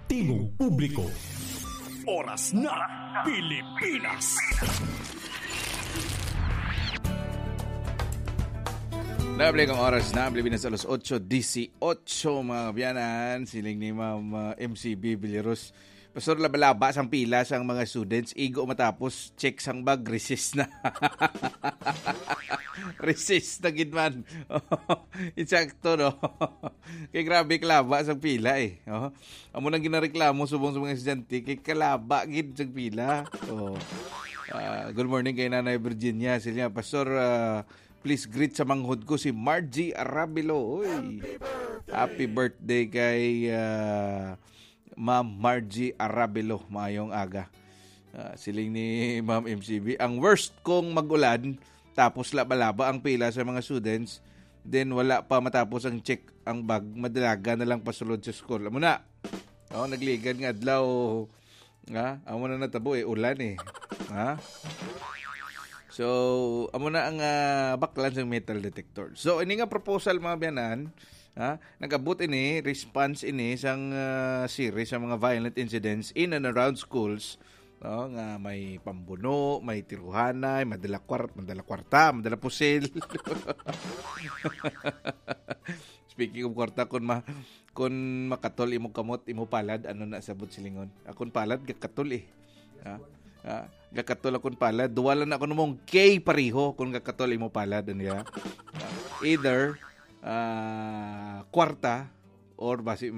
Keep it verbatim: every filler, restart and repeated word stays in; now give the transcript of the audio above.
Tingog publiko. Oras na, Pilipinas. Nabalik ang oras na Pilipinas, alas otso dieciocho, mga kaabyanan. Siling ni Ma'am, uh, M C B Villaros, "Pastor, laba-laba sang pila sang mga students, igo matapos check sang bag, recess na." Recess na gid man. Insakto, no? Kay grabe kalaba sang pila, eh. Oh. Amo nang ginareklamo subong sa mga estudyante, kay kalaba gid sang pila. Oh. Ah, good morning kay Nanay Virginia. Sila, "Pastor, ah, please greet sa manghod ko si Margie Arabilo." Uy. Happy birthday kay, ah, Ma'am Margie Arabilo. Maayong aga. Ah, siling ni Ma'am M C B, "Ang worst kung mag-ulan, tapos laba-laba ang pila sa mga students, then wala pa matapos ang check ang bag, madalaga na lang pasulod sa school." Amo na. Oh, nagligan nga adlaw. Ha? Amo na natabo, eh, ulan, eh. Ha? So, amo na ang, ah, baklan sa metal detector. So, ini nga proposal, mga biyanan, ha? Nag-abot ini, response ini sang, ah, series sa mga violent incidents in and around schools, no? Nga may pambuno, may tiruhanay, madala kwart-, madala kwarta, madala pusil. Speaking of kwarta, kun ma-, kun makatol imo kamot, imo palad, ano na sabot silingon? Akon palad, gakatol, eh. Ha? Ha? Gakatol akon palad. Duwa lang na ako namong K pareho kung gakatol imo palad, ano ya? Either, ah, kwarta or basi